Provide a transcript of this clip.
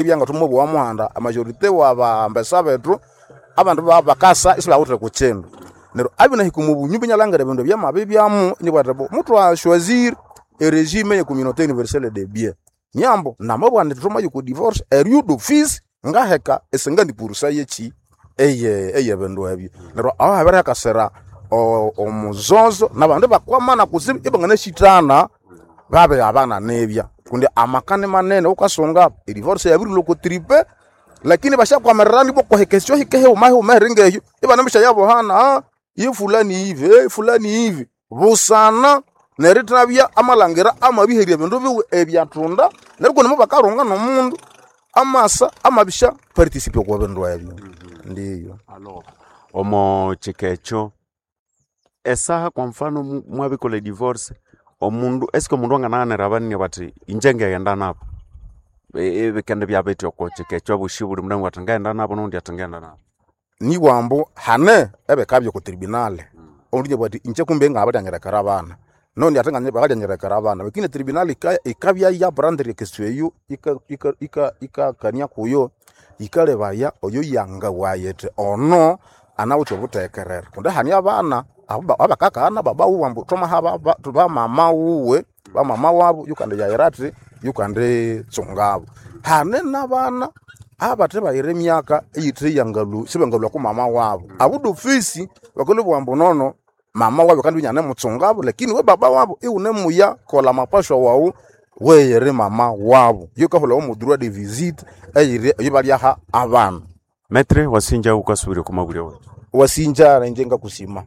Ibyanga thumubuwa muhanda a majorité wa bambesa bethu abandu bakasa isibawithe kukindu. Neryo abinahika omu bunyumba inalhangira ebindu ebyamabibyamu inibugha athi muthwa choisir e regime ye communauté universelle de biens. Nyambo namabugha indi thwamaya oko divorce eryo d'office ngaheka e 50% yekyi eye bindu ebyo. Neryo aho habirihakasira omuzozo nabandu ibakwamana kutsibu ibanganasyithana babighabana nibya kundi amaka ni manene wukasunga e divorce yabirilhwa oko tripe, lakini basyakwamirirana ibwa okwahika esyohika hihuma hihuma eri ngehyo ibanemusyayabohana, ye fulani hivi, fulani hivi busana nerithabya amalhangira amabiherya ebindu biwe ebyathunda neryo kundi mobakalhunga nomundu amasa amabisya participate okwa bindu ebyo. Ndiyo. Omo kika ekyo esaha kwa mfano mwabikolha e divorce, omundu esike omundu anganaghanira abanene bathi inje ngaghenda nabo, ibikendibya bithi oko kika ekyo abosi buli mundu angabugha athi ngaghenda nabo noghundi athi ngaghenda nabo. Nibugha ambu hane ebikabya oko tribunal, omundi inabugha athi inje kumbe ngabiryanyilekera abana, noghundi athi nganye bakaryanyilekera abana, lakini e tribunal ikabya ya prendre e question eyo ikakania kuyo, yikalebaya oyo yangabugha yithi ono anawithe obuthekerere kundi hane abana abakakaghana baba wuwe ambu thwamaha bamama wuwe, bamama wabu yukandiyayira athi yukanditsungabo. Hane nabana abathe bayira emyaka eyithe yangalhu sibangalhwa okwa mama wabu, abo d'office bakalhwabugha ambu nono mama wabu akandibya inyanemutsungabo lakini iwe baba wabu iwunemuya kolha amapashwa wawu weyiri mama wabu. Yikahulhawa omo droit de visite eyiri eyabalyaha abana. Metre wasinja wukasubirya okwa mabulyo wethu. Wasinja inje ngakusima.